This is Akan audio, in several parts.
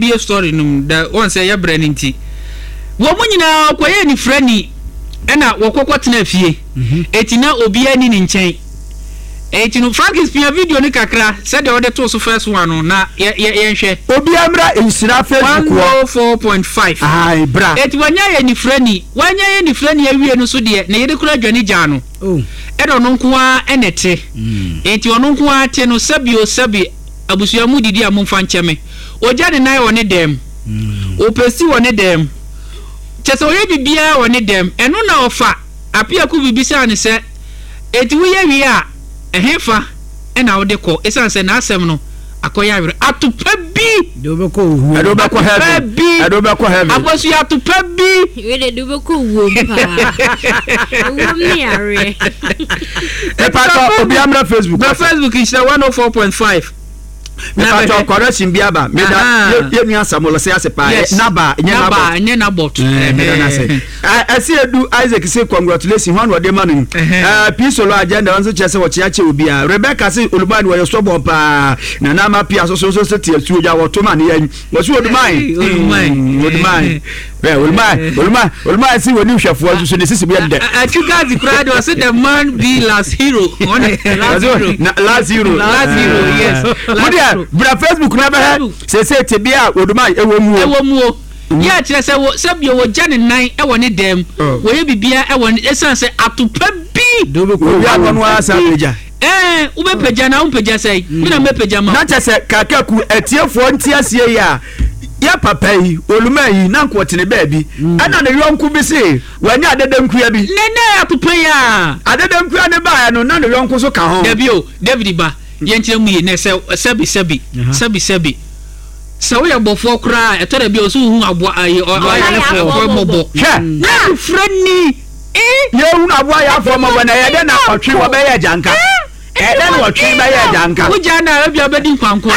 Yɛmbie story no mu da wɔn sɛ yɛbrɛ no nti. Wɔn nyinaa ɔkɔyɛɛ nifrani ɛna wɔkɔkɔ tena fie. Eti na obiara ni ne nkyɛn. Eti no Frankis pia video no kakra sɛdeɛ ɔde too so first one no na yɛ yɛ yɛnhwɛ. Obiara mmra nhyira Facebook hɔ. 104.5. Ae bra. Eti wanya yɛ nifrani. Wanya yɛ nifrani awie no so deɛ ne yere koraa dwane gyaa no. Ɛna ɔno nko ara na ɛte. Enti ɔno nko ara te no, sɛbi o sɛbi, abusua mu didi a momfa nkyɛ me. Ɔgya ne nan wɔ ne dɛm. Ɔpɛsi wɔ ne dɛm. Kyerɛ sɛ ɔyɛ biribiara wɔ ne dɛm. Ɛno na ɔfa Apiaku bi bisaa no sɛ, Enti woyɛ wie a, ɛhefa na wode kɔ? Esiane sɛ n'asɛm no akɔyɛ awerɛ. Atopa bi! De wobɛkɔ owuo. Ɛde wobɛkɔ Atopa heaven. bi! Ɛde wobɛkɔ heaven. Akosua atopa bi! Wei de de wobɛkɔ owuom paa. Owuom ne yareɛ. Mepatɔ obi amra Facebook. Bra Facebook nhyira 104.5. Mepatɔ correction bi aba. Meda yɛ nua Samuel ɔsɛ ase paa. Yes. Naba nyɛ Naba Nabot. nyɛ Nabot. Meda no ase. Ɛsɛ edu Isaac se congratulations hwan na ɔde ma no yi. P solo agenda nso kyerɛ sɛ ɔkyea kyɛ obiara. Rebecca se Oluman wɔyɛ stubborn paa. Nana ama pia so so so se te asuo gya wɔto ma ne yɛn. Wɔsi Oluman. Oluman. Oluman. Oluman Oluman Oluman se wɔni hwɛfoɔ nso so ne sisi bi yɛ dɛ. Atwi gazi koraa de ɔse the man be last hero. Ɔne last hero. Last hero. Last hero yes. Mo deɛ bra Facebook na bɛhɛ sese tebea a Oluman ɛwɔ mu o. Ɛwɔ mu o. Yɛ a kyerɛ sɛ wɔ sɛ bio wɔgya ne nan wɔ ne dan mu, wɔyɛ biribiara wɔ ne ɛsiane sɛ atopa bi. Obi akɔ no ara san pagya. Ɛɛ wobɛpagya na wompagya sɛn? Me na mɛpagya ma wo. Na kyɛ sɛ Kakaku atiefoɔ nte aseɛ yi a, yɛ papa yi, Oluma yi, na nka ɔtene baabi. Ɛna ne yɔnko bi se wanya adedankua bi. Nɛ nɛ atopa yi a. Adedankua no baeɛ no, na ne yɔnko nso ka ho. Dabi o, David ba, yɛnkyerɛ mu yie, nɛ sɛ sɛbi sɛbi, sɛbi sɛbi. Sɛ woyɛ bɔfoɔ koraa a, ɛtɔ da bi a ɔsɛ wohu aboa ayi ɔyarefoɔ mmɔbɔ. Hwɛ! Na abofra ni eh. Yɛhunu aboa yarefoɔ mmɔbɔ na ɛyɛ dɛn na ɔtwe wɔ bɛyɛ agyanka? Ɛyɛ dɛn na ɔtwe bɛyɛ agyanka? Wogyaa no a ebia ɔbɛdi nkwankwa.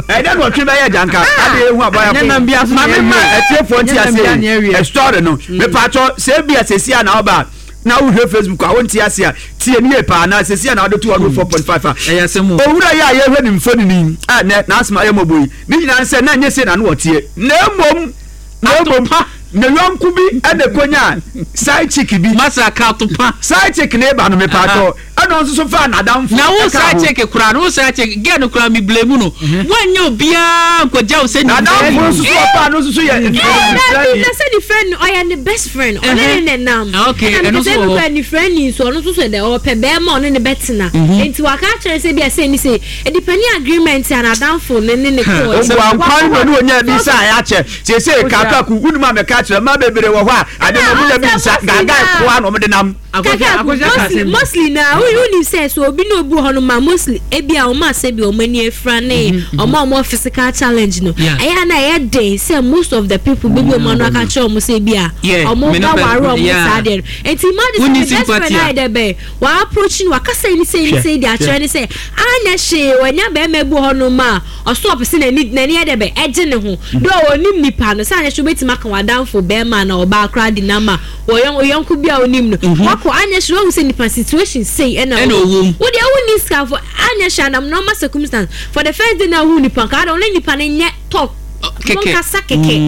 Ɛyɛ dɛn na ɔtwe bɛyɛ agyanka? Ade yɛhu aboa yarefoɔ. Maame ma atiefoɔ nte aseɛ yi story no. Mepatwɔ sɛ ebia sɛsi a na ɔba a na wohwɛ Facebook a wonte ase a tie no yie paa na sɛsi a na wode to 104.5 a Ɛyɛ asɛm o. Owura yi a yɛhwɛ ne mfonini yi a nɛ n'asɛm ayɛ mmɔbɔ yi ne nyinaa ne sɛ na ɛnyɛ sei na na ɔteɛ na mmom na mmom Atopa. ne yɔnko bi na ɛkɔnyaa side chick bi. Masa ka atopa. Side chick ne ba no mepaatɔ ɛna ɔno nso so faa n'adamfo Na wo ɛkaa side ho. chick koraa no wo side chick girl no koraa me blame no woanyɛ obiara nkɔgya wo sɛ N'adamfo nimfrani. nso so ɔfaa no nso so yɛ Ɛɛ mfrani. dabi na sɛ ne friend no ɔyɛ ne best friend ɔne ne na nam Okay, ɛna ɛno meka nso sɛ wɔ ebi hɔ. kora ne friend ni nso ɔno nso so dɛ ɔpɛ bɛrima ɔne ne bɛtena nti waka akyerɛ sɛ bi a sɛ ni sɛ edipani agreement a n'adamfo ne ne ne kɔɔ Obu ankwan na ɔne onya bi nsa a ɛakyɛ. Seesei Kakaku, wonim a mɛka akyerɛ mmaa bebree wɔ hɔ a ade no wɔn nya bi nsa, gaagaa koa na wɔde nam. Kakaku, mostly mostly na wonim sɛ sɛ obi ne obi wɔ hɔ no ma mostly ebi a wɔn a sɛ bi wɔn ani afira ne wɔn a wɔn physical challenge no ɛyɛ a na ɛyɛ den sɛ most of the people bɛbi wɔn ano aka kyerɛ wɔn sɛ ebi a wɔn ba ware wɔn saa deɛ no nti imagine sɛ ne best friend ayɛ dɛ bɛn wa approach no wakasa ne sɛ ne sɛ de akyerɛ ne sɛ anyɛ hwee wanya bɛrima bi wɔ hɔ no ma ɔso ɔpɛ sɛ n'ani n'ani yɛ dɛ bɛn ɛgye ne ho dɛ ɔnim nipa no sɛ anyɛ hwee wobɛtumi aka w'adamfo bɛrima na ɔbaa koraa di n'ama Wɔ yɔn oyɔnko bi a onim no wakɔ anyɛ hwee wahu sɛ nipa situation sei ɛna Ɛna ɔwɔ mu. Wo deɛ wonni sika for anyɛ hwee anam normal circumstance for the first day na wohu nipa nka adɛ ɔne nipa no nyɛ talk Kɛkɛ. monkasa kɛkɛ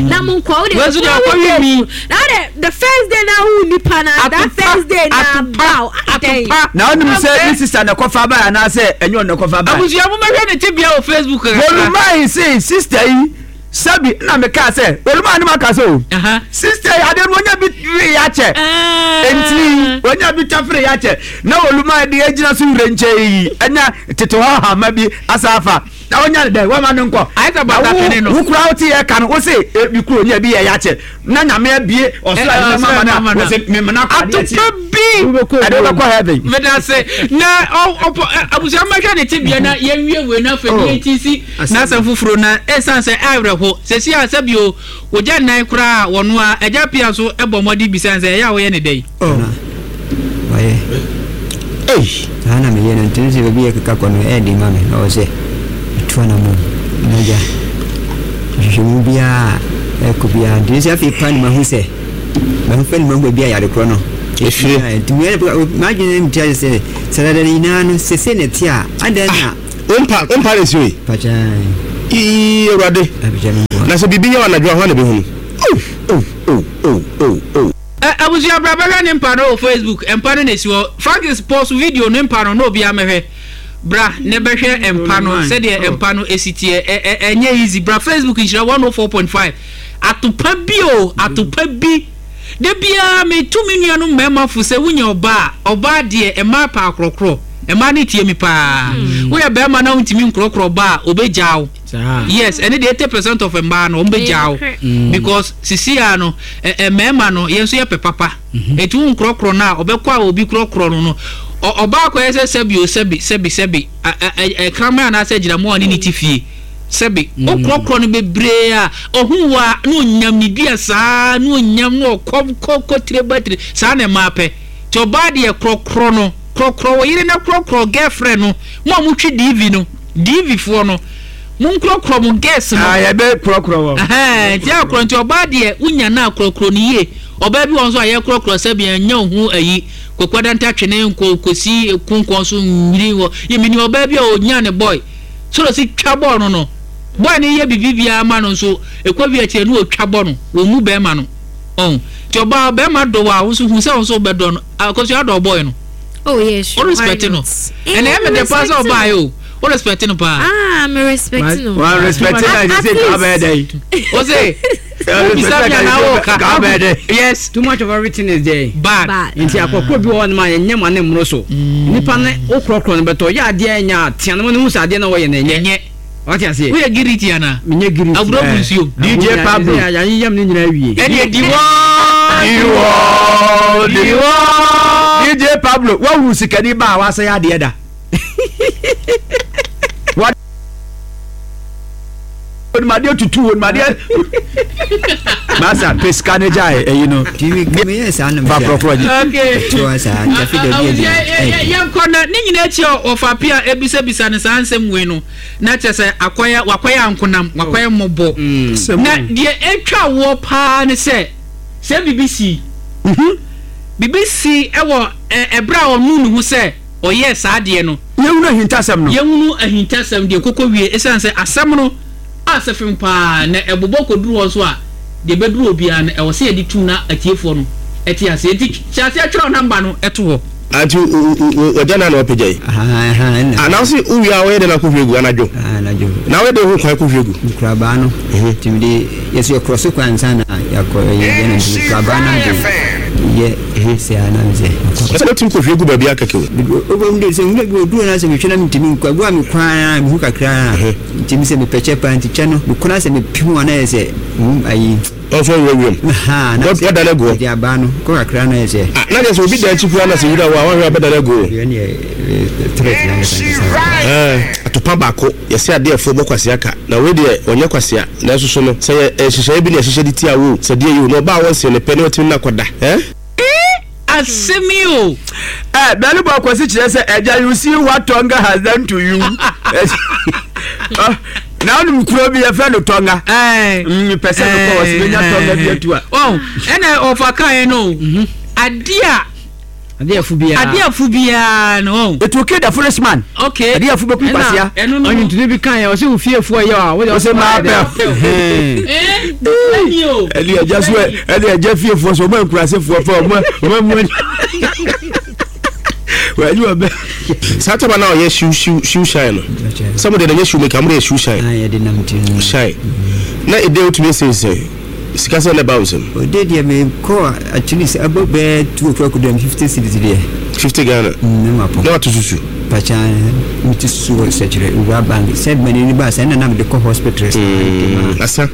na monkɔ wo deɛ Wei nso deɛ the following ɔkɔwe day mi. na wo deɛ the first day na wohu nipa na that Atopa, first day na atopa, bow adɛn. atopa. Na wonim sɛ ne sister na ɛkɔfa bae anaasɛ ɛnyɛ ɔno na ɛkɔfa bae? Abusua momɛhwɛ ne tebea wɔ Facebook kakra. Wɔnumae se sister yi Sɛbi na me kaa sɛ oluma ne ma ka sɛ o sister yi adeɛ no onya bi wee akyɛ nti onya bi tafere yɛ akyɛ na oluma de agyina so wura nkyɛn yi ɛnya tete hɔ hama bi asa afa na onya ne dɛ wama no nkɔ na wo wo kura wo te yɛ ka no wo se ebi kuro onya bi yɛ yɛ akyɛ na nyame abie ɔsoro a ɛma ma na wo se memena kɔ adeɛ atopa bi ɛde wobɛkɔ heaven. Medase na ɔpɔ abusua mmɛhwɛ ne tebea na yɛnwie wei na afei ne yɛnti si N'asɛm foforo na esiane sɛ awerɛho sɛsi a sɛbi o, ogya nnan koraa a wɔnoa, agya pia nso bɔ mmɔden bisa no sɛ ɛyɛ a woyɛ no dɛn? Na wayɛ. Ei! Saa na meyɛ no nti no sɛ baabi a ɛkeka kɔ no ɛyɛ den ma me na ɔwɔ sɛ metu anammɔn na agya nhwehwɛmu biara a ɛkɔ biara nti no sɛ afei paa na mahu sɛ mahu fɛ no mahu baabi a yare korɔ no Ɛfiri. Nti m'adwene mu te sɛ sɛ dada no nyinaa no sese na ɛte a adɛn na Wo mpa wo mpa na esi hɔ yi. Pakyan. Ii Awurade. Apagya me mpo. Na sɛ biribi yɛ wo anadwo a, hwan na ɛbɛhunu? Oh, oh, oh, oh, oh, oh. Ɛ abusua bra bɛhwɛ ne mpa no wɔ Facebook mpa no na esi hɔ Francis pause video ne mpa no na obiara mɛhwɛ bra na bɛhwɛ mpa no sɛdeɛ mpa no esi teɛ ɛ ɛ ɛnyɛ easy bra Facebook nhyira 104.5 atopa bi o atopa bi da biara metu me nuanom mmarima fo sɛ wonya ɔbaa a ɔbaa deɛ mmaa pɛ akorɔkorɔ mmaa no tie me paa woyɛ barima na wontumi nkorɔkorɔ ɔbaa a ɔbɛgyaa wo. Yes, ɛne deɛ 80% of mmaa no wɔn bɛ gyaa wo because sisi a no ɛ mmarima no yɛn nso yɛ pɛ papa eti wo nkorɔkorɔ no a ɔbɛkɔ a obi korɔkorɔ no no ɔbaa kɔ yɛ sɛ sɛbi o sɛbi sɛbi sɛbi ɛ kraman anaasɛ agyinamoa a ɔne ne ti fie sɛbi o korɔkorɔ no bebree a ɔho wa na onyam ne dua saa na onyam na ɔkɔ kɔ kɔ tire ba tire saa na mmaa pɛ te ɔbaa deɛ korɔkorɔ no korɔkorɔ wɔ yere na korɔkorɔ girlfriend no mo a mo twi DV no. DV foɔ no mo nkorɔkorɔ mo girls no. Ah yɛbɛ korɔkorɔ wɔn. Ɛhɛn nti akorɔ nti ɔbaa deɛ wonya no a korɔkorɔ no yie ɔbaa bi wɔ hɔ nso a yɛkorɔkorɔ sɛbi ɛnyɛ wo ho ayi kwaku adanta twene nkɔ kɔsi konkɔn so nwiri wɔ yɛ menim ɔbaa bi a ɔnya ne boy sɔrɔ si twa bɔɔl no no boy no yɛ bibi biara ma no nso ɛkɔ wie akyire no ɔtwa bɔ no wɔn mu bɛrima no ɔn nti ɔbaa bɛrima dɔ wɔ a wo nso hu sɛ wo nso wobɛdɔ no akɔsua dɔ boy no. Oh yeah, sure. O respect no. Ɛna ɛmɛ dɛ paa sɛ ɔbaa yɛ o. O respect no paa. Ah, me respect no. Wa respect na ɛsɛ sɛ ka bɛyɛ dɛ yi. O se. O bisa mi ana o ka. Ka bɛyɛ dɛ. Yes. Too much of everything is there. Bad. Nti akɔkɔ bi wɔ hɔ nom a yɛnyɛ ma ne mmoro so. Nipa ne wo korɔkorɔ no bɛtɔ yɛ adeɛ ɛnyɛ a tea no ma no hu sɛ adeɛ na wɔyɛ no ɛnyɛ. Ɛnyɛ. Wate aseɛ? Woyɛ giriti anaa? Menyɛ giriti. Agorɔ gu nsuo mu. DJ Pablo. Yɛayeyam ne nyinaa awie. Ɛdeɛ diwɔ. Diwɔ. Diwɔ. DJ Pablo, woahunu sikani ba a wasɛe adeɛ da? Onim adeɛ tutu, onim adeɛ. Masa, pɛ sika ne gyae ɛyi no. Tv kame yɛ saa na Fa korɔkorɔ gye. Okay. Toa saa ntafi da bi adi. Yɛnkɔ na ne nyinaa akyi a ɔfa pia ebisabisa ne saa nsɛm wei no. Na kyerɛ sɛ akɔyɛ wakɔyɛ ankonam, wakɔyɛ mmɔbɔ. Na deɛ ɛtwa woɔ paa ne sɛ, sɛ biribi sii, biribi sii wɔ ɛberɛ a ɔnuu ne ho sɛ ɔyɛɛ saa adeɛ no. Yɛhunu ahintasɛm no. Yɛhunu ahintasɛm deɛ kɔkɔ wie, ɛsiane sɛ asɛm no asɛ fem paa na ɛbobɔ kɔduru hɔ nso a, deɛ ɛbɛduru obiara no, ɛwɔ sɛ yɛde tum na atiefoɔ no te aseɛ. Enti hyɛ aseɛ twerɛ namba no to hɔ. Anti wagya na na wapagya yi. Ah, na wose wowie a woyɛ dɛn akɔhwie gu anadwo? Anadwo. Na woyɛ dɛn hu kwan kɔhwie gu? Nkurabaa no. Nti mede yɛsɛ yɛkorɔ so kwan ansa na yɛakɔ ɛyɛ deɛ na nti nkurabaa na mede yɛ sɛ a na mesɛ. Sɛ wotumi kɔhwie gu baabi akɛkɛ o. Wobɛhu de sɛ nwura bi wɔ duro no asɛ mehwɛ na mentumi nkɔ agu a mekɔ ara mehu kakra a nti mesɛ mepɛ kyɛ paa nti kyɛ no mekɔ no asɛ mepem a na yɛ sɛ ayi. Ɔmfa nwura wuram. Ahaa, na Wɔ- Wɔdane agu hɔ. Mede abaa no kɔ kakra na ayɛ sɛ. Ah, na kyerɛ sɛ obi da akyi koraa na sɛ wura wɔ a, wanhwɛ a ɔbɛdane agu hɔ. Deɛ ɛneɛ eh, threat no ankasa ankasa wɔ hɔ. Ɛɛ, atopa baako, yɛse adeɛfoɔ bɔ kwasea ka. Na wei deɛ, ɔnyɛ kwasea. Nanso so no, sɛ yɛ nhyehyɛeɛ bi na yɛhyehyɛ de tia wo o, sɛ deɛ yi o, na ɔbaa a wɔnsee no pɛ na watumi ne no akɔda. Ɛɛ? Ee asɛm yi o. Eh, Bɛlebɔ Kwasi kyerɛ sɛ ɛgya you see what Tonga has done to you. Na wonim kuro bi yɛfrɛ no Tonga. Mepɛ sɛ mekɔ wɔ sɛ menya Tonga bi atu a. Oh, ɛna ɔfa kaeɛ no adeɛ a Adeɛ afu biara. Adeɛ afu biara no. Oh. It will kill the foolish man. Okay. Adeɛ afu bɛkum kwasia. Ɛno no. Ɔnwontoni bi kan yɛ ɔsɛ wo fiefoɔ yɛ a wode ɔsɛ maa pɛ. Ɛne ɛgya so ɛne ɛgya fiefoɔ so ɔmo nkurasefoɔ fɛ ɔmo ɔmo mu ani. Wɔanyi wɔ bɛ. Saa taba na ɔyɛ shoe shoe shoe shine no. Sɛ mo deɛ na nyɛ shoe maker mo deɛ shoe shine. Shine. Na ɛdɛ wotumi sensɛn. Sika sɛn na ɛba wo nsam? Ɔde deɛ me kɔ at least ɛbɔ bɛyɛ 2 o'clock deɛ 50 cedis deɛ. 50 Ghana. Mm, na mapɔ. Na wato susu. Pakya me ti susu wɔ sɛkyerɛ wura bank sɛ mani ni ba sɛ ɛna na mede kɔ hospital. Mm, asa.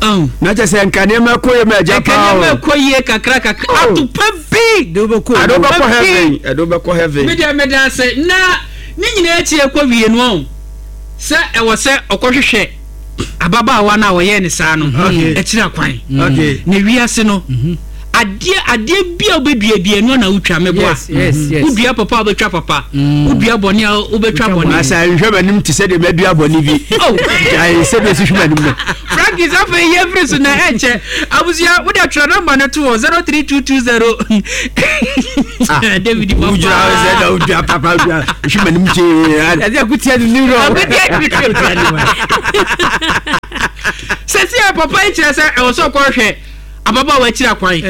Oh. Na kyɛ sɛ nka nneɛma ɛkɔ yie ma agya paa o. Nka nneɛma ɛkɔ yie kakra kakra. Oh. Atopa bi. De wobɛkɔ Ade wobɛkɔ heaven. Ɛde wobɛkɔ heaven. Me deɛ meda ase na ne nyinaa akyi ɛkɔ wie no ɔn sɛ ɛwɔ sɛ ɔkɔhwehwɛ ababaawa no a ɔyɛɛ ne saa no akyiri akwan. Na wiase no, adeɛ adeɛ bi a wobɛdua bi ɛno na wotwa meboa. Wodua papa a wobɛtwa papa, wodua bɔne a wobɛtwa bɔne. Asa nhwɛ m'anim te sɛ deɛ madua bɔne bi. Gyae sɛdeɛ ɛsi hwɛ m'anim no. Frankie sɛ afei yɛmfiri so na ɛnkyɛ. Abusua wode atwerɛ nɔmba no to hɔ 03220. David papa. Wogyina hɔ sɛ na wodua papa dua hwɛ m'anim kyee. Ɛsɛ akutia ne newrɔ. Akutia ne newrɔ. Sɛsi a papa yi kyerɛ sɛ ɛwɔ sɛ ɔkɔhwɛ ababaawa akyiri akwan.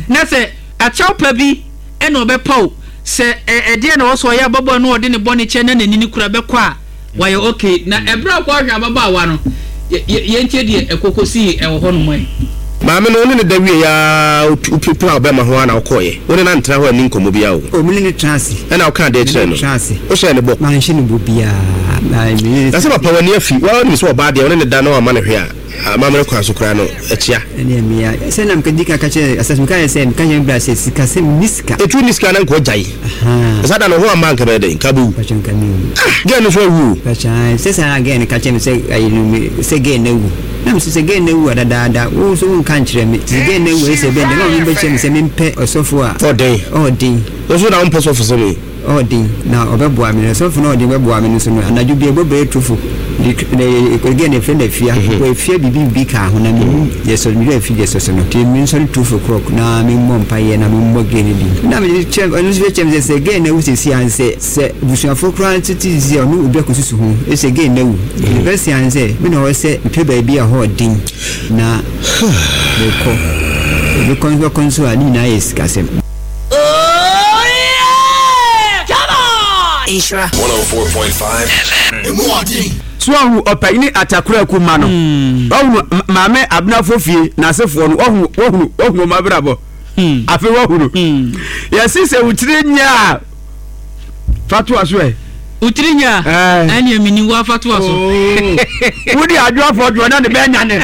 Na sɛ akyɛw pa bi na ɔbɛpaw sɛ ɛdeɛ na ɔwɔ sɛ ɔyɛ ababaawa no ɔde ne bɔne kyɛ na n'ani no kura bɛkɔ a wayɛ okay. Na ɛberɛ a ɔkɔhwɛ ababaawa no, yɛntie deɛ ɛkɔ kɔsii ɛwɔ hɔ nom ɛ. Maame no, wo ne no da wieeɛ ara, wopira wo bɛrima ho ara na wokɔeɛ. Wo ne no antena hɔ anni nkɔmmɔ biara o. O, me ne no tenaa ase. Ɛnna wokaa deɛ kyerɛɛ Me ne no? no tenaa ase. Wohyɛɛ no bɔ? Manhyɛ no bɔ biara. Me ne no Na sɛ tenaa papa ase. w'ani afi, wo ara wonim sɛ ɔbaa deɛ wo ne no da na wamma no hwee a, amammerɛ kwan so koraa no, akyia. Ɛnneɛ mea, sɛ na meka di kan ka kyerɛɛ Asase, meka kyerɛɛ sɛ, meka kyerɛɛ me bra sɛ, sikasɛm, menni sika. Ɛtu wonni sika na nka ɔgyae. Ahaa. Na saa da no, wo ho amma a nka ɛbɛyɛ dɛn? Nka wobɛwu. Mpakyɛ nka menwu. Ah! Girl no nso awu o. Mpakyɛ ae, sɛ saa na girl no ka kyerɛɛ me sɛ, ayi no, me, sɛ girl no awu. Na mese, sɛ girl no awu a dadaada, wo nso wonka nkyerɛ me. Sɛ girl no awu a, ɛsɛ sɛ ɛbɛn dɛn? Na ɔno bɛkyerɛ me sɛ mempɛ ɔsɔfo a. Ɔden. Ɔden. Wo nso na wompɛ sɔfo sɛm yi. Ɔden, na ɔbɛboa me. Na sɔfo no a ɔden bɛboa me no nso no, anadwo bi ɛbɔ bɛyɛ tufo, de de ɛgɛn na efrɛ no afia, bɔ afia biribi biribi kaa ho na menim deɛ sɔ me werɛ afi deɛ sɔ so no. Nti mensɔre tufo krɔk na memmɔ mpaeɛ na memmɔ gɛn no din. Na mede kyerɛ ɔno nso kyerɛ me sɛ sɛ gɛn no awu seesei a sɛ sɛ abusuafoɔ koraa nso te sɛ ɔno obi akɔsusu ho sɛ gɛn no awu. Nti deɛ bɛsi ara ne sɛ me na ɔwɔ sɛ mepɛ baabi a ɛhɔ ɔden na mekɔ. Mekɔ nso bɛkɔ nso a ne nyinaa yɛ sikasɛm. Oh yeah! Come on! Nhyira. 104.5 FM. Emu ɔden. So wahu ɔpanyini Atakoraku mma no? Wahunu Maame Abenafo fie n'asefoɔ no? Wahunu, wahunu, wahunu wɔn abrabɔ? Afei wahunu. Yɛse sɛ wo tiri nyɛ a, fa toa so ɛ. Wo tiri nyɛ a, ɛneɛ menim wo a fa toa so. Wodi adwoafoɔ dwoɔ na ne bɛɛ nyane.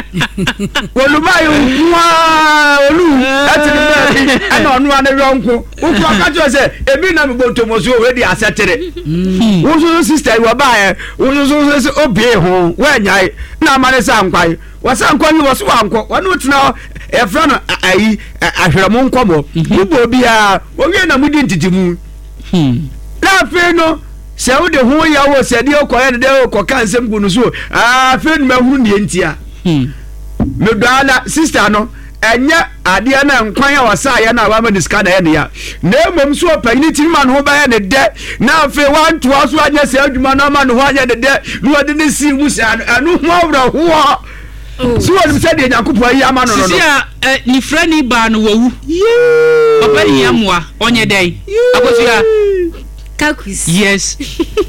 Oluma yi nko ara olu ɛte ne baabi ɛna ɔno ara ne yɔnko. Wokura ka kyerɛ sɛ ebi na mebɔ ntomoso wei de asɛtere. Wo nso so sista yi wɔbaeɛ wo nso so so sɛ obie ho woanyae na ama ne sa nkwae. Wɔsa nkɔ yi wɔ so wankɔ wɔne wo tena hɔ yɛfrɛ no ayi ahwerɛmo nkɔmmɔ. Mobɔ obiara wɔwie na modi ntetemu. Na afei no sɛ wode ho yɛ wo sɛ deɛ wokɔyɛ no dɛ wokɔka nsɛm gu no so afei no mahunu deɛ ntia. Medɔ ara sista no ɛnyɛ adeɛ no nkwan a ɔsaeɛ no a wama ne sika na ɛyɛ ne ya na mmom so ɔpanyini tumi ma ne ho bɛyɛ ne dɛ na afei wantoa so anyɛ saa adwuma no ama ne ho anyɛ ne dɛ na wɔde ne sii mu saa no ɛno ho awerɛhoɔ oh. So wɔnim sɛ deɛ Nyankopɔn ayi ama no no no sisi a eh, ne frɛni baa no wawu papa hia mmoa ɔnyɛ dɛn akosua kakus yes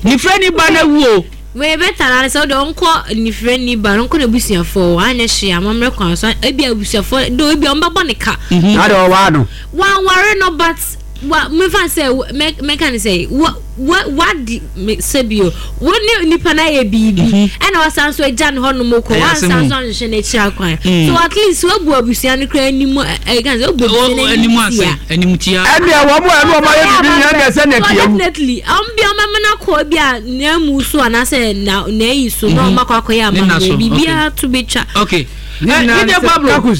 ne frɛni ba no awu o. Wei better na sɛ wode ɔnkɔ nifirani ba no ɔnkɔ n'abusuafoɔ hɔ anyɛ hwee amammerɛ kwan so ebi abusuafoɔ do ebi ɔmbɛbɔ ne ka. Mhm. Na de ɔwaa no. Wanware no but wa mefa sɛ mɛka ne sɛ wa wa wadi sɛ bio wo ne nipa no ayɛ biribi mhm. ɛna wasan so agya ne hɔ nom kɔ wansan so anhwehwɛ n'akyiri akwan mm. so at least wabu abusua no koraa anim ɛka sɛ wabu abusua no anim tia anim tia ɛnna wɔn a ɛna wɔn ayɛ biribi nyɛ deɛ sɛ na ɛte awu definitely wɔn bi wɔn bɛma no akɔ bi a n'amu so anaasɛ na n'ayi so na wɔn akɔ akɔyɛ amammerɛ biribiara to bɛtwa. Okay. Ne Pablo wawu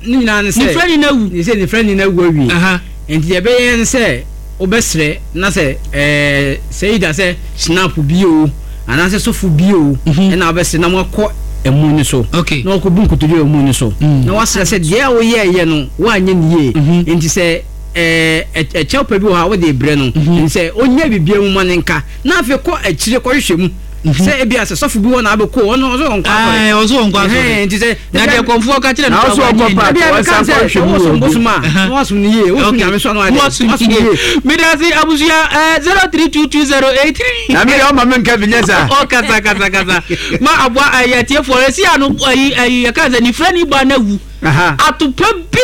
ne nyinaa ne sɛ ne frɛ ni na wu ne sɛ ne frɛ ni na wu awie nti deɛ ɛbɛyɛ ne sɛ wobɛsrɛ na sɛ ɛɛ sɛ yi da sɛ snap bi o anaasɛ sɔfo bi o mhm. ɛna wobɛsrɛ na moakɔ ɛmu no so na wakɔbu nkotodwe wɔ ɛmu no so mm. na wasrɛ sɛ deɛ a woyɛɛyɛ no woanyɛ ne yie mhm. nti sɛ ɛɛ ɛkyɛw pa bi wɔ hɔ a wode brɛ no mhm. nti sɛ ɔnya biribiara mu ma ne nka na afei kɔ akyire kɔhwehwɛ mu sɛ ebi asɛ sɔfo bi wɔ na abɛkɔ ɔno ɔsɛ ɔnkɔ asɔre ɔsɛ ɔnkɔ asɔre nti sɛ na deɛ kɔnfoɔ ka kyerɛ no na ɔsɛ ɔkɔ paaki ebi a ɔnsa meka sɛ kɔ hwɛ mu wosom wɔ obi bosom a na wasom no yie wosom nyame so a na wayɛ dɛ wasom wasom yie yie medase abusua 032208 na me deɛ ɔma me nka bi nyɛ saa ɔkasa kasa kasa ma aboa ɛyɛ atiefoɔ ɛsi ano ɛyi ɛyi yɛka sɛ nifrani ba no awu Aha. atopɛ bi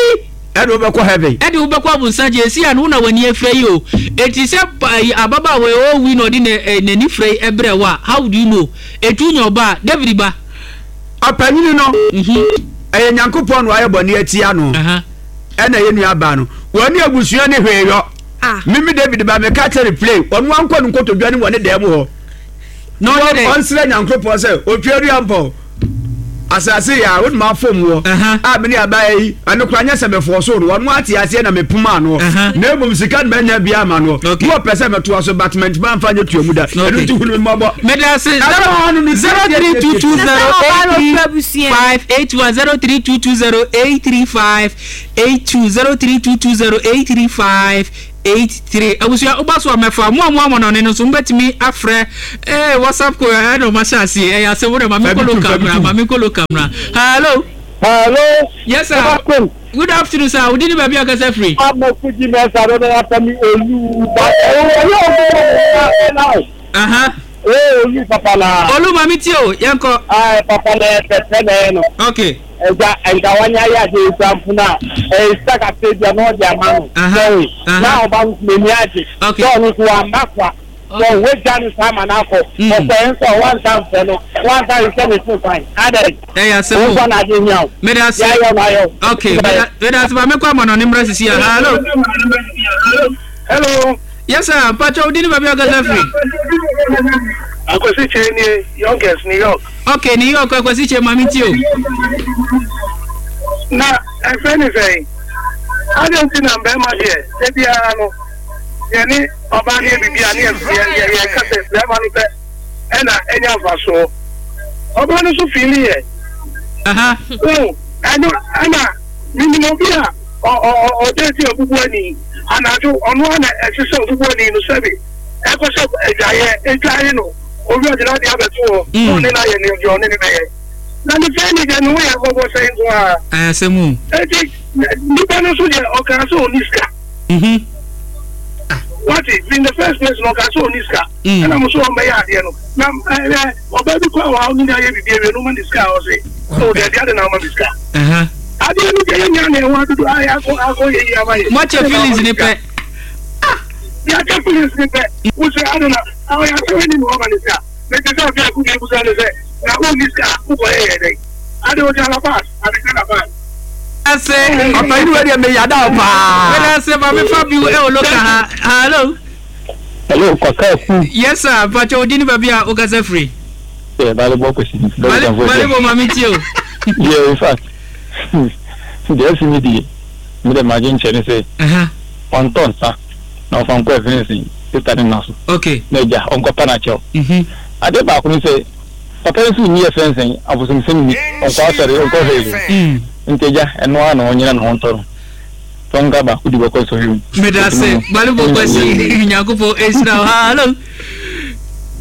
ɛde wobɛkɔ heaven ɛde wobɛkɔ abonsan gye esi ano na w'ani afira yi o eti sɛ ɛyi ababaawa yi ɔrewi na ɔde n'ani fira yi ɛbrɛ wo a how do you know etu nya ɔba a David ba. Ɔpanyini no, ɛyɛ Nyankopɔn na wayɛ bɔne atia no, ɛna ɛyɛ nua baa no. Wɔne abusua ne hwee yɔ. Ah. Mimi David ba meka kyerɛ no play, ɔno ankɔ no nkotodwe ne wɔ ne dan mu hɔ. Na ɔyɛ dɛ. Ɔnsrɛ Nyankopɔn sɛ, otwa dua mpɔ. Asase yɛ a, wode ma fam wɔ. A mene abaa yi, ɛno koraa nyɛ sɛ mefɔɔ so no, ɔno ate aseɛ na mepoma ano. Na mmom sika no manya bi ama no. Na ɔpɛ sɛ metoa so, but mantumi amfa anyɛ tua mu da. Ɛno nti hunu me mmɔbɔ. Medase 0322083581 0322083582 03220835. 83. Abusua woba so a mɛfa mo a mo amɔnɔne no nso mobɛtumi afrɛ ee WhatsApp ko ɛna ɔma hyɛ aseɛ ɛyɛ asɛm wo dɛ ma menkɔ local mmra ma menkɔ local mmra. Hello. Hello. Yes sir. Good afternoon sir. Wodi ne baabi akasa firi. Ama fuji mɛsa do na yasa mi olu ba ɛyɛ olu na ɛna. Aha. Ee olu papa na. Olu ma mi tie o yɛn kɔ. Ayi papa na ɛfɛfɛ na ɛyɛ no. Okay. Ɛgya nka wanya ayɛ adeɛ yi koraa mpo no a, ɛyɛ sika kakra bi a na ɔde ama no. Sɔre. Na ɔba no nso n'ani agye. Sɛ ɔno nso wamma kwa. Sɛ wagya no saa ma no akɔ. Ɔkɔɛ nso a wansa mfrɛ no. Wansa nhwɛ ne so kwan. Adɛn? Ɛyɛ asɛm o. Wo nko na adeɛ hia wo. Meda ase. Deɛ ayɛ wo no ayɛ wo. Okay, meda meda ase. Maame kɔ ama no ne mmra sisi a. Hello. Hello. Yes sir, mpakyɛ wo din ne baabi a ɔkasa firi. Akwasi Kyei nie, Yonkers, New York. Okay, New York, Akwasi Kyei, maame ti o. Na ɛfɛ ne sɛn? Adɛn nti na mbɛrima deɛ, da biara no, yɛne ɔbaa no yɛ biribi a ne yɛka sɛ bɛrima no pɛ ɛna ɛnya mfasoɔ. Ɔbaa no nso fiili yɛ. Ɛno ɛna menim obi a ɔda ti obubuani anadwo ɔno ara na ɛsɛ sɛ obubuani no sɛbe ɛkɔhyɛ adwaeɛ adwae no owi ɔde n'adeɛ abɛto hɔ na ɔne no ayɛ ne deɛ ɔne no bɛyɛ na ne fɛn ne deɛ ne ho yɛ mmɔbɔ sɛn nko ara. Asɛm o. Eti nipa no nso deɛ ɔkaa sɛ ɔni sika. Wate in the first place na ɔkaa sɛ ɔni sika ɛna mo so ɔmbɛyɛ adeɛ no na ɛɛ ɔbaa bi kɔ a ɔne no ayɛ biribi awie no ɔma ne sika a ɔse o dabi ade na ɔma me sika. Adeɛ no deɛ yɛnya na ɛho adodo ayɛ akɔ akɔ yɛ yi ama yɛ. Moakyɛ feelings ne pɛ. Yɛakyɛ feelings ne pɛ. Wosɛ ade na ɔyɛ asɛm ni na ɔma ne sika. Mete sɛ afei ako bi ebusa ne sɛ na wonni sika a wokɔyɛ yɛ dɛn? Ade ɔgya la pass ade la pass. Ase. Ɔpanyin wei deɛ meyada wo paa. Meda ase ma me fa bi ɛwɔ loka ha. Hello. Hello, Kwaka Aku. Yes sir, mpakyɛ wo din ne baabi a wokasa firi. Yeah, Bale bɔ kwesi. Bale bale bɔ maame tie o. Yeah, in fact, deɛ asi mi die, mi dɛ magye nkyɛ ne sɛ, ɔntɔ nsa na ɔfa nkɔ ɛfene sista ne nna so. Okay. Na agya ɔnkɔ pa n'akyɛw. Adeɛ baako ne sɛ, papa yi nso nni ɛfɛn sɛn abosomsɛm ni, ɔnkɔ asɔre, ɔnkɔ hwee. Nti agya, ɛno ara na ɔnyina ne ho ntɔ no. Tɔnga baako di bɔkɔ sɔhwɛ mu. Medase Balibɔ Kwasi Nyankopɔn nhyira wo. Hello.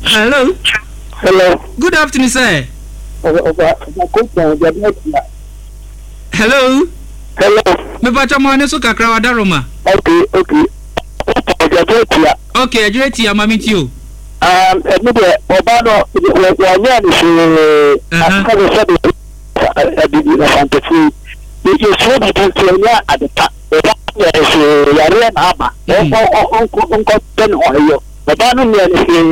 Hello. Hello. Good afternoon sir. Hello. Hello. Mepacha mo ane so kakra wa daroma. Okay, okay. Okay, adwere tia ma me ti o. Um, ɛmi deɛ ɔbaa no wɔnyɛ ne hwee asɛ sɛ de abibi na fantafo yi yɛsua biribi nti ɛnyɛ ade pa ɔbaa no nyɛ ne hwee yareɛ na aba ɔnkɔ pɛ ne ho ayɔ ɔbaa no nyɛ ne hwee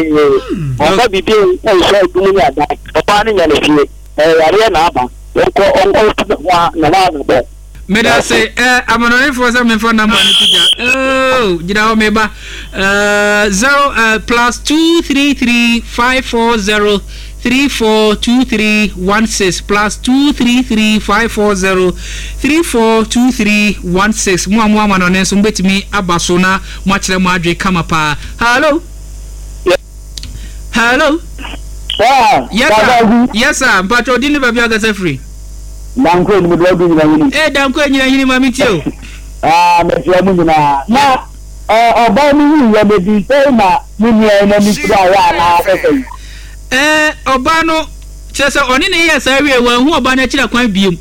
ɔmfa biribi nhyɛ adum ne adan ɔbaa no nyɛ ne hwee ɛyɛ yareɛ na aba ɔnkɔ ɔnkɔ ne ho ne ho anabɔ. Meda ase eh, amanɔnefoɔ sɛ memfa number no to dwa. Oh, gyina hɔ meba. Uh, zero, uh, plus 233 540 342316 plus 233 540 342316. Mo a mo amanɔne nso mobɛtumi aba so na moakyerɛ mo adwe kama paa. Hello. Hello. Yes sir. Yes sir. Mpacho odi ne baabi akasa firi. Danko enyim do ɔdo nyina hini. Ee Danko enyina hini ma me tie o. Ah mekyia mu nyinaa. Na ɔbaa no wu yɛ no di sɛn na ne nua yi n'ani fira yɛ anaa sɛ sɛn? Ɛɛ ɔbaa no kyerɛ sɛ ɔne ne yɛɛ saa wie wanhu ɔbaa no akyiri akwan biom.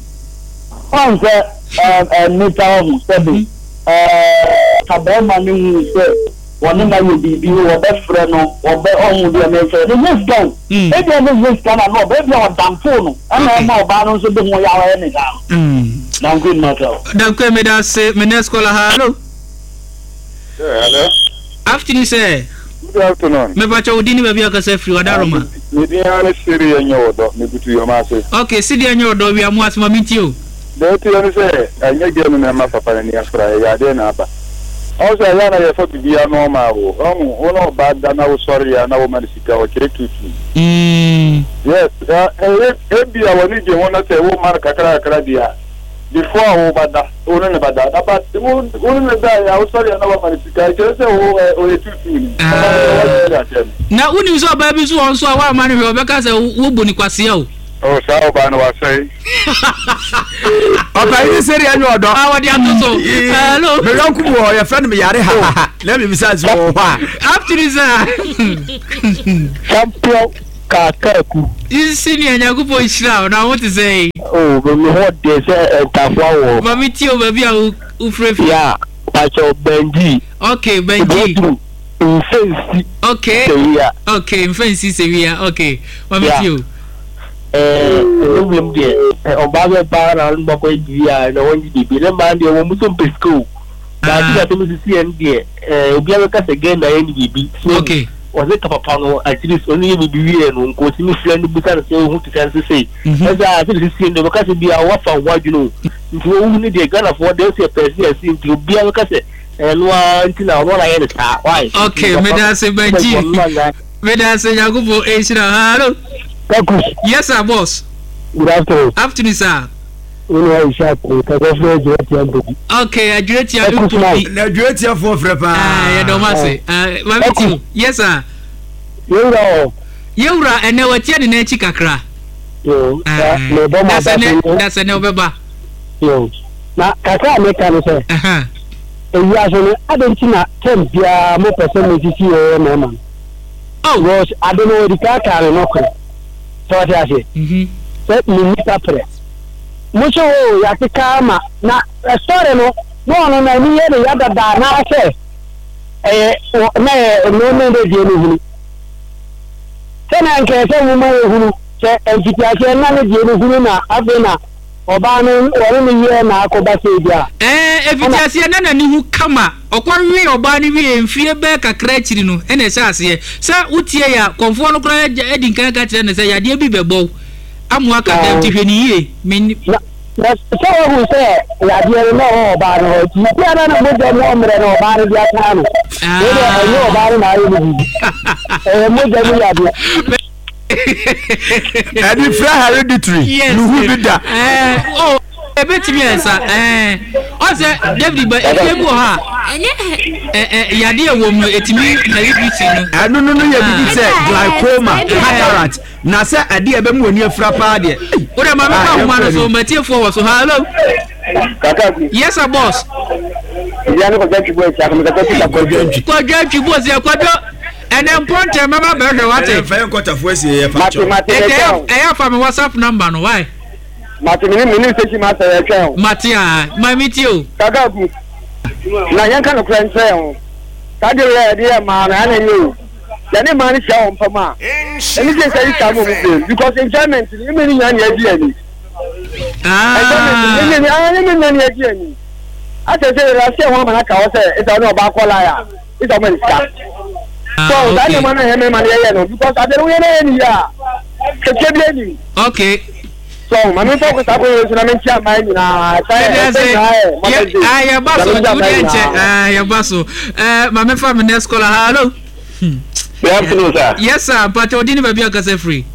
Ɔn sɛ ɛɛ nnipa ɔho sɛbe ɛɛ ka bɛɛma no hu sɛ wɔne no ayɛ biribi, wɔbɛfrɛ no, wɔbɛ, ɔhu deɛ merekyerɛ no, ɛnyɛ sika o, ebia na ɛnyɛ sika na na ɔbɛ, ebia ɔdampoo no, ɛna ɛma ɔbaa no nso de ho yaw ɛyɛ ne saa no. Danko mmata o. Danko meda ase, me next caller, hello. Yeah, hello. Afternoon sir. Good afternoon. Mepakyɛ wo din ne baabi a wokasa firi, Wadaroma. Me din ara ne Siri Ɛnyɛ Ɔdɔ, mebutu Yom ase. Okay, Siri Ɛnyɛ Ɔdɔ, wia mo ase ma mentie o. Deɛ ɛteɛ ne sɛ, ɛnyɛ girl no na ɛma papa no ani afra, ɛyɛ adeɛ na aba. Ɔhu sɛ ɛyɛ a na yɛfa biribiara normal o, ɔhu, wo ne ɔbaa da na wosɔre a na woma no sika, ɔkyerɛ tuutuu. Yes, ɛyɛ, ebia w'ani gye ho na sɛ woma no kakra kakra deɛ a, before a wobɛda, wo ne no bɛda, na but wo, wo ne no daeɛ a wosɔre a na wama no sika, ɛkyerɛ sɛ wo, ɛ, ɔyɛ tuutuu ni. Ɔba no deɛ wagye akyɛ no. Na wonim sɛ ɔbaa bi nso wɔ hɔ nso a woamma no hwee a ɔbɛka sɛ wobu no kwasea o. Oh saa ɔbaa no wasɛe. Ɔpanyin ne sɛdeɛ ɛnyɛ ɔdɔ. A wɔde ato so. Hello. Me yɔnko bi wɔ hɔ yɛfrɛ no meyare hahaha na mebisa sɛ wɔ hɔ a. Afternoon sir. Champion Kakaku. Senior Nyankopɔn nhyira wo na wo te sɛ. Oh, me ho de sɛ ntafoa wɔ. Ma me tie o baabi a wo frɛ fi. Ya, pacho Benji. Okay, Benji. Mfɛnsi. Okay. Sewia. Okay, mfɛnsi sewia. Okay. Ma me tie o. Eh, ɛno wiem deɛ, ɔbaa bɛ baa na ɔno bɛkɔ adidi a na wɔngye biribi. Ne mmaa deɛ wɔn nso mpɛ sika o. Baako na asɛm sisi yɛn deɛ, eh, obiara bɛka sɛ gɛn na yɛ ne biribi. So okay. Ɔsɛ ka papa no at least ɔno yɛ biribi wie no nka ɔtumi frɛ no bisa no sɛ ohu te sɛ nse sei. Ɛsɛ a sɛ sisi yɛn deɛ ɔbɛka sɛ bia wafa ho adwene o. Nti wɔwu ne deɛ Ghanafoɔ deɛ ɔsɛ yɛpɛ sɛ yɛse nti obiara bɛka sɛ ɛno ara nti na ɔno na yɛ ne saa. Why? Okay, meda ase Benji. Meda ase Nyankopɔn nhyira wo. Hello. Kaku. Yes sir boss. Good afternoon. Afternoon sir. Wo nua Ishaq nkasa firi Adwiratia Mpobi. Okay, Adwiratia Mpobi. Na Adwiratia foɔ frɛ paa. Ah, yɛ dɔm ase. Ah, maame ti o. Yes sir. Yɛwura wɔ. Yɛwura ɛnɛ watia ne nan akyi kakra. Yo, na mebɔ mo aba so. Dasɛ nɛ ɔbɛba. Yo, na kakra a meka ne sɛ. Ewiase no, adɛn nti na tɛm biara mopɛ sɛ mosisi yɛn mmarima no? Oh. Because ade no wɔdi kan kaa no nɔkorɛ. Sɛ wɔte aseɛ? Mm-hmm. Sɛ menni kaprɛ. Mo so o, yɛakeka ama na ɛsɔre no, na ɔno n'ani yɛ ne ya dada anaasɛ ɛyɛ na ɛyɛ nneɛma ne deɛ no hunu. Sɛ na nka ɛsɛ nwoma yɛ hunu sɛ mfitiaseɛ na ne deɛ no hunu na afei na Ɔbaa no, wɔne no yɛɛ na akɔba sei deɛ a. Ɛɛ, mfitiaseɛ na n'ani hu kama. Ɔkɔwee ɔbaa no wieeɛ mfeɛ bɛɛ kakra akyiri no na ɛhyɛɛ aseɛ. Sɛ wotiee a, kɔmfoɔ no koraa adi nkan aka akyerɛ no sɛ yadeɛ bi bɛbɔ wo ama woaka dam nti hwɛ no yie. Me. Na, na sɛ wahu sɛ yadeɛ no na ɛwɔ ɔbaa no hɔ nti, ebia na ne mogya mu ɔmmerɛ na ɔbaa no de ataa no. Wei deɛ ɛnyɛ ɔbaa no na ayɛ no biribi. Ɛyɛ mogya mu yadeɛ. Ɛde fira hereditary. Yes. Nuhu bi da. Eh, oh, ebetumi ayɛ sa. Eh, ɔsɛ David ba efie bi wɔ hɔ a. Eh, eh, yadeɛ wɔ mu etumi hereditary no. Ɛno no no yɛ bibi sɛ glaucoma, cataract. Na sɛ adeɛ ɛbɛmu wɔ ni afira paa deɛ. O de maame fa ahoma no so matiefoɔ wɔ so. Hello. Yes sir boss. Kwadwo atwi boss yɛ kwadwo. Ɛnɛ mpo ntɛm mɛba bɛhwɛ wate. Ɛnɛ nfa yɛ nkɔtafo asie yɛ fa kyɛw. Ɛtɛ ɛyɛ afa mi WhatsApp number no why. Mate me ne me ne station master yɛ twɛn o. Mate a ma mi tie o. Kaka ku na yɛn ka nokorɛ nkyerɛ yɛn ho saa deɛ wei a yɛde yɛ mmaa no ɛna ɛnyɛ o yɛne mmaa no hyia wɔ mpam a ɛne sɛ sɛ yi saa mu ɔmo blame because enjoyment no ɛmɛ ne nyinaa na yɛgye yɛn ani enjoyment no ɛmɛ ne ɛmɛ nyinaa na yɛgye yɛn ani asɛ sɛ yɛrɛ aseɛ ho ama no aka hɔ sɛ ɛsɛ ɔne ɔbaa kɔ line a. Isa ɔma ne sika. Ah, So saa okay. nneɛma no a ɛyɛ mmarima no yɛyɛ no because adeɛ no woyɛ no yɛ ne yie a kɛkyɛ bi anim. Okay. So maame nfa kɔ saa kwan yi so na menkyia mmaa nyinaa saa Yɛde ɛsɛ ase. nyinaa yɛ Mother's Day. Ah, yɛba Na so. menkyia Wo mmaa deɛ nkyɛ. nyinaa. Ah, yɛba so. Eh, maame fa me next caller. Hello. Good afternoon, sir. Yes, sir. Mpakyɛ ɔdi ne baabi akasa firi.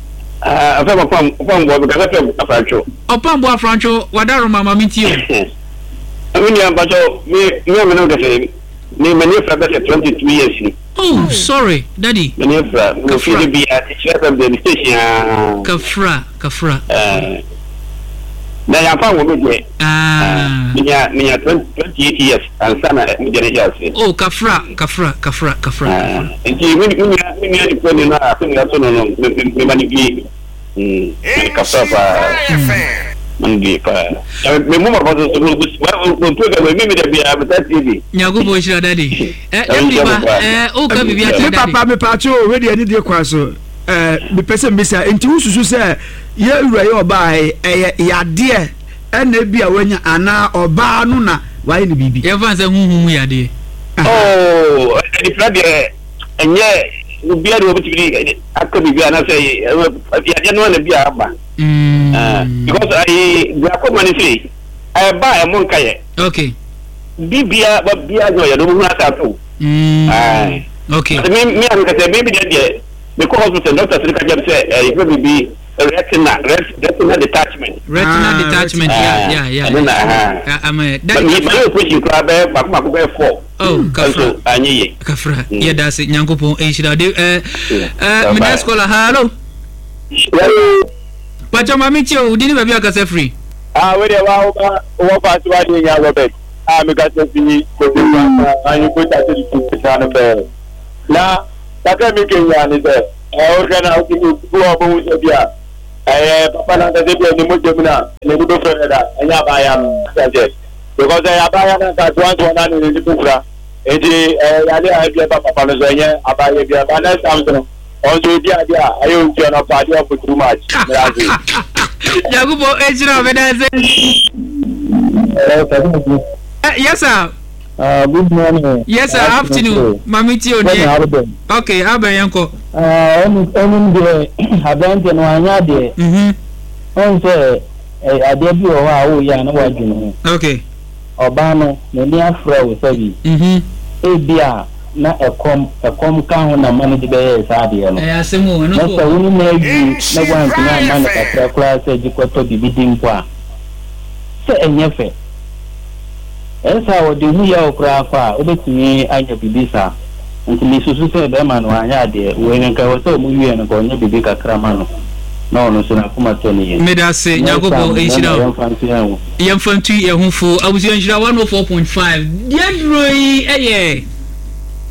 Ah, afɛ ɔpam ɔpam bɔ because afɛ afrantwo. Ɔpam bɔ afrantwo wadaroma maame nti o. Me nua mpakyɛ me me a me ne wo kasa yi. Me m'ani afira bɛsɛ 22 years ni. Oh sorry daddy. M'ani afira me wɔ fie de bia ti kyerɛ fam deɛ me station aa. Kafra kafra. Ɛɛ na yanfa wo me deɛ. Ah. Menya menya 28 years ansa na me deɛ ne hyɛ ase. Oh kafra kafra kafra kafra. Nti me me nua me nua nipa ni no a sɛ nua so no no me me ma ne bie. Kasa paa. Mandi paa. Me mu papa so so mo program mi mi da bia me ta tie bi. Nyankopɔn nhyira daddy. Eh David ba eh o ka biribi akyerɛ Me daddy. papa me paakye o wei deɛ ne deɛ kwan so eh mepɛ sɛ mbisa nti wosusu sɛ yɛ wura yɛ ɔbaa yi ɛyɛ yadeɛ ɛna ebi a wanya anaa ɔbaa no na wayɛ ne biribi. Yɛmfa nsɛ honhom mu yadeɛ. Oh adifra deɛ ɛnyɛ obiara de wɔbɛtumi de aka biribi anaasɛ yadeɛ no ana bi a aba because ayi glaucoma no sei ɛba a ɛmo nka yɛ okay bibia ba bia nyɛ ɔyɛ no wohunu asa ato okay me me a mekasɛ me bi deɛ deɛ mekɔ hospital doctor sɛ ka kyerɛ me sɛ ɛyɛ biribi retina retina detachment retina ah, detachment yeah yeah yeah ɛno na ɛha ama daddy kafra operation koraa bɛyɛ baako baako bɛyɛ 4 Oh, kafra. Nso anyɛ yie. Kafra. Mm. Yɛda ase Nyankopɔn nhyira de eh eh me next caller hello. Pacho mami tie o, di ne baabi akasa firi. Ah, wei deɛ wa woba wɔ fa so adeɛ nya Robert a mekasa fi kofi kwanta ahemfo tate de tu kasa no pɛɛ. Na kakra mi kenya ne sɛ ɛɛ wohwɛ na wotumi bi wɔ ɔbɛhu sɛ bi a ɛyɛ papa no ankasa bi a ne mogya mu na n'ani bɛfura dada ɛnyɛ abaayewa no sɛ because ɛyɛ abaayewa no anka toantoa no na n'ani bɛfura nti ɛyɛ yare a ebi ɛba papa no so ɛnyɛ abaayewa bi a next time so no ɔnso odi adeɛ a ɛyɛ ontua no ɔpa adeɛ ɔfo too much mmerɛ ase. Nyankopɔn nhyira wo meda ase. Yes sir. Good morning. Yes sir, afternoon. Mami tie o deɛ. Okay, abɛn yɛn kɔ. Ɛnum deɛ aberanteɛ no wanyɛ adeɛ. Ɔn sɛ adeɛ bi wɔ hɔ a woyɛ a na wadwene ho. Okay. Ɔbaa no, n'ani afra wo sɛbi. Ebia na ɛkɔm, ɛkɔm ka ho na ma no de bɛyɛɛ saa adeɛ no. Ɛyɛ asɛm o, ɛno Na nso sɛ wɔ wo hɔ. ne no awie na woantumi amma no kakra koraa sɛ gye kɔtɔ biribi di mpo a, sɛ ɛnyɛ fɛ. Ɛyɛ saa a, ɔde ho yaw koraa kɔ a, wobɛtumi anya biribi saa. Nti mesusu sɛ bɛrima no wanyɛ adeɛ. Wei no nka ɛwɔ sɛ wɔn wie no nka ɔnyɛ biribi kakra ma no na ɔno nso n'akoma tɔ ne yam. Medase, Nyɛ saa Nyankopɔn mmarima nhyira wo. yɛmfa nto yɛn ho. Yɛmfa ntu yɛn ho fo. Abusua nhyira 104.5. Deɛ aduro yi yɛ.